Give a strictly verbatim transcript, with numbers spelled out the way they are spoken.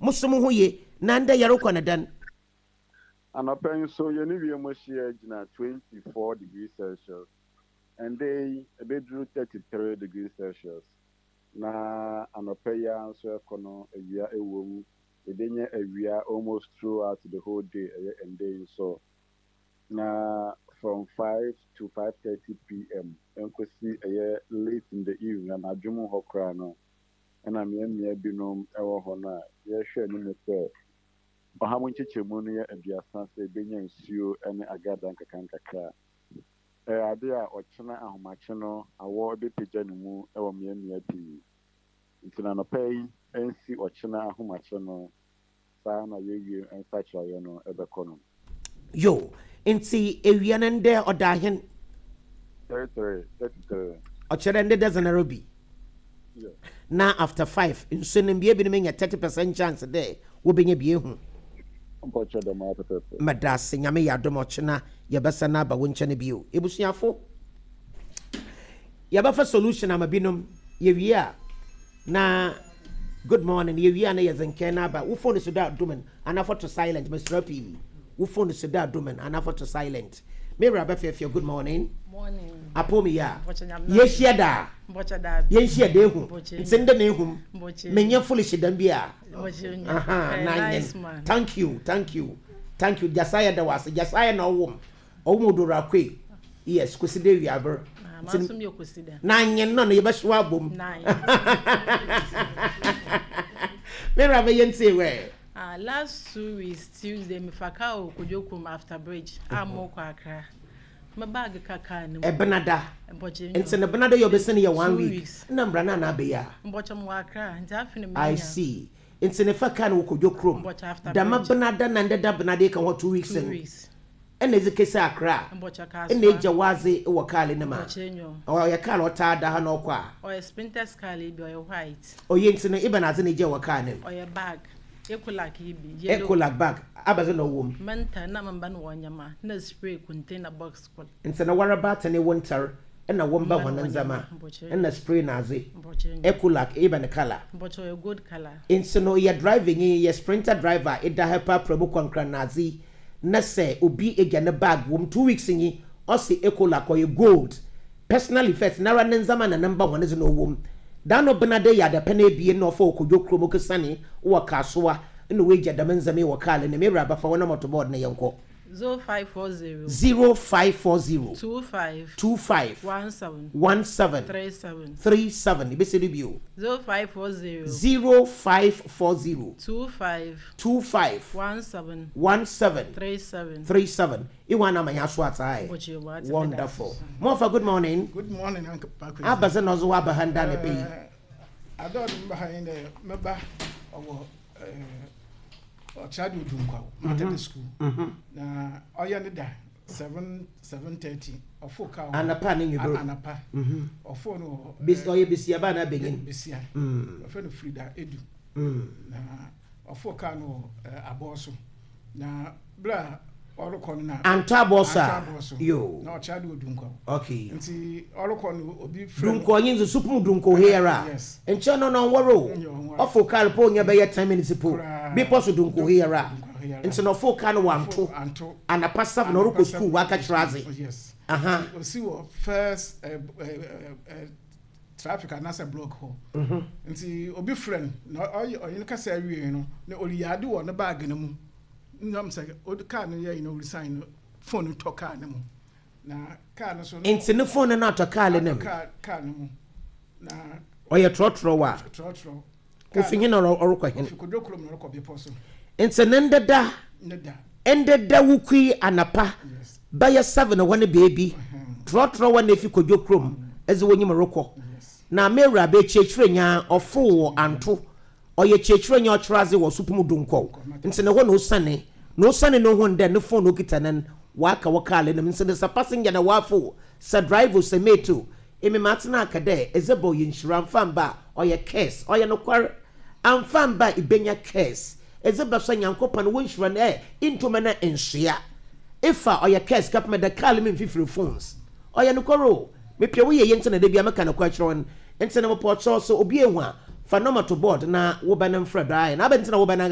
Mo so mo ho ye na ndɛ yɛrekɔ ne dɛn? Anɔpɛ nso yɛne wiem hyia gyina twenty-four degrees Celsius. Ɛndɛ yi ɛbɛduru thirty-three degrees Celsius. Na anɔpɛ yi ara nso ɛkɔ no, awia ɛwɔ mu. Yɛbɛnya awia almost throughout the whole day, ɛyɛ ɛndɛ yi nso. Na from five to five thirty p m nkosi ɛyɛ late in the evening, anadwo mu hɔ koraa no, ɛna mmeammea binom ɛwɔ hɔ no a yɛhwɛ anim sɛ ɔha mu nkyekyɛmu no yɛ aduasa sɛ ebenya nsuo ne agrada nkakra nkakra. Ɛyɛ ade a ɔkyena ahomakye no awɔ bɛpagya ne mu wɔ mmeammea pii. Nti na anɔpa yi nsi ɔkyena ahomakye no, saa na yɛwie nsakyerɛeɛ no ɛbɛkɔ no. Yo, nti ewia no ndɛ ɔda ahen? thirty-three, thirty-three. Ɔkyerɛ ndɛ dozen bi. Yeah. Na after five nsuo no mbea binom nya thirty percent chance dɛ wobɛnya bi ehu. Mpɔkyɛ dɛm ara pɛpɛɛpɛ. Mɛda ase. Nyame yɛ adom, ɔkyena yɛbɛsa no aba wo nkyɛn bio. Ebusuafo, yɛbɛfa solution ama binom. Yɛwie a na good morning. Yɛwie a na yɛdze nkɛn no aba. Wo phone so da domen anafɔ to silent. Mesrɛ pii, wo phone so da domen anafɔ to silent. Mewura bɛfɛɛfɛ, good morning. Morning. Apɔ mi yɛ a Mpɔkyɛ Nyame. Yɛhyia daa. Mpɔkyɛ daa. Yɛnhyia da ehu. Mpɔkyɛ. Nti ndɛ na ehum. Mpɔkyɛ. Menyɛ foolish dam bi a. Mpɔkyɛ nya. Aha, Eh, na nice nyen. man. Thank you, thank you, thank you. Jasaya da wase. Jasaya na ɔwom. Ɔwom odora kwe. Yes, kwesi de wiaber. Ah, ma so mi okosi da. Na nyen no no yɛbɛhyew abom. Nine. Mera bɛyɛ ntie wɛ. Ah, last two weeks Tuesday me fa car wɔ Kodwokum after bridge a mo kɔ Accra. Me bag ka car no mu. Ɛbenada. Mpɔkyɛ. Nti ne benada yɛ ɔbɛsɛne yɛ one Two week. weeks. Na mbra na na abɛyɛ a. Mpɔkyɛ mo wɔ Accra nti afi ne me I nya. see. Nti ne fa car no wɔ Kodwo kurom. Mpɔkyɛ after Dama bridge. benada na ndeda benada ka hɔ two weeks. Two no. weeks. Ɛna edze kesi Accra. Mpɔkyɛ car. Ɛna egya wadze wɔ car no mu a. Mpɔkyɛ nyo. Ɔyɛ car ɔtaa da ha na ɔkɔ a. Ɔyɛ Sprinters car yi bi, ɔyɛ white. Ɔyɛ nti no ibɛn adze na egya wɔ car no mu? Ɔyɛ bag. Ecolac yi bi. Yellow. Ecolac bag. Abɛdze na ɔwɔ mu? Mental na mamba no wɔ nyama na spray container box kɔ. Nti na waraba atene wo ntar ɛna wɔn ba Mba hɔn no wɔ ndzɛmba nyama, mpɔkyɛ. ɛna spray na adze. Mpɔkyɛ nyo. Ecolac ibɛn colour? Mpɔkyɛ ɔyɛ gold colour. Nti no yɛ driving yi, yɛ Sprinter driver, ɛda ha paapra mu kɔnkran na adze yi, na sɛ obi egya ne bag wɔm two weeks yi, ɔsi Ecolac ɔyɛ gold, personal effect nara ne ndzɛmba na ne mba hɔn dze na ɔwɔ mu. Dan no benade yɛ adapɛ na ebien na ɔfa Okodwo kurom kesane wɔ Kasoa ɛna wɔagya dɛm ndzɛmba yi wɔ kaa ne mewura abafa wɔn motor board na yɛnkɔ. Zero five four zero. Zero five four zero. Two five. Two five. One seven. One seven. Three seven. Three seven. Ebesi do bio. Zero five four zero. Zero five four zero. Two five. Two five. One seven. One seven. Three seven. Three seven. Iwa na manya so atai. Mpɔkyɛ wate. Wonderful. Mofa, good morning. Good morning, Uncle Pakwesi. Abaze no zo aba handa ne pe. Adɔ de mba ha yi dɛ mɛba ɔwɔ ɔkyerɛ de Odunkwaw Methodist School na ɔyɛ ne da seven seven thirty ɔfo kaa wɔ Anapa ne nwibere. Anapa ɔfo no wɔ Bis ɔyɛ bisia ba na benyin. Besia. Mm. Ɔfɛ no Frida Edu. Mm. Na ɔfo kaa no wɔ eh, abɔɔ so na bere a ɔrekɔ no na Anto abɔ so a. Anto abɔ so. Yo. Na ɔkyerɛ de Odunkwaw Okay. nti ɔrekɔ no obi frɛ no. Dunko ɔnye nso supum dunko here. Yes. Nkyɛn no no nwɔre o. Nyɛ ɔnwɔre. Ɔfo car po nya bɛyɛ ten minutes po. Koraa. Bepɔ so dunko here. Dunko here. Nti no ɔfo car no wanto. Anto. Anapa seven ɔrekɔ school waka kyerɛ adze. Yes. Aha. Nti osi wɔ first uh, uh, uh, traffic anaasɛ block hɔ. Mhm. Nti obi frɛ no na ɔyɛ ɔyɛ no kasa awie no na ɔreyi ade wɔ ne baage no mu nam sɛ ɔde kaa no yɛ yi na ɔresign no, phone no tɔ kaa no mu na kaa no so no Nti ne phone no atɔ car no mu. kaa kaa no mu na Ɔyɛ trɔtrɔ wa. Trɔtrɔ. Ofi hin na ɔrekɔ hin? Ofi Kodwo kurom na ɔrekɔ bepɔ so. Nti ne ndeda Ne da. Ndeda wukui anapa Yes. bɛyɛ seven wɔ ne beebi, trɔtrɔ wɔ na efi Kodwo kurom ɛdze wɔnyim rekɔ. Yes. Na mewura bɛ kyerɛkyerɛ nya ɔfo wɔ anto, ɔyɛ kyerɛkyerɛ nya ɔkyerɛ adze wɔ supum dunkɔw, nti ne hɔ na osane na osane no ho ndɛ ne phone okita no waka wɔ kaa no mu. Nti ne sɛ passenger na wafo sɛ driver sɛ mate o, emi maa tena aka dɛ ɛdze bɔ yɛ nhyira mfa mba a ɔyɛ curse. Ɔyɛ nokware amfa mba a ibenya curse. Ɛdze bɛ so Nyankopɔn wɔ nhyira no ɛ ntoma na nsoa ifa ɔyɛ curse kapama da kaa no mu mfifiri phones. Ɔyɛ nokware o, mepɛ woyɛ yɛ nti na da bia meka nokware kyerɛ wɔn. Nti na mepɔ kyerɛw sɛ obi ehu a fa number to board na wobɛ no mfrɛ do ayɛ na abɛ nti na wobɛ no.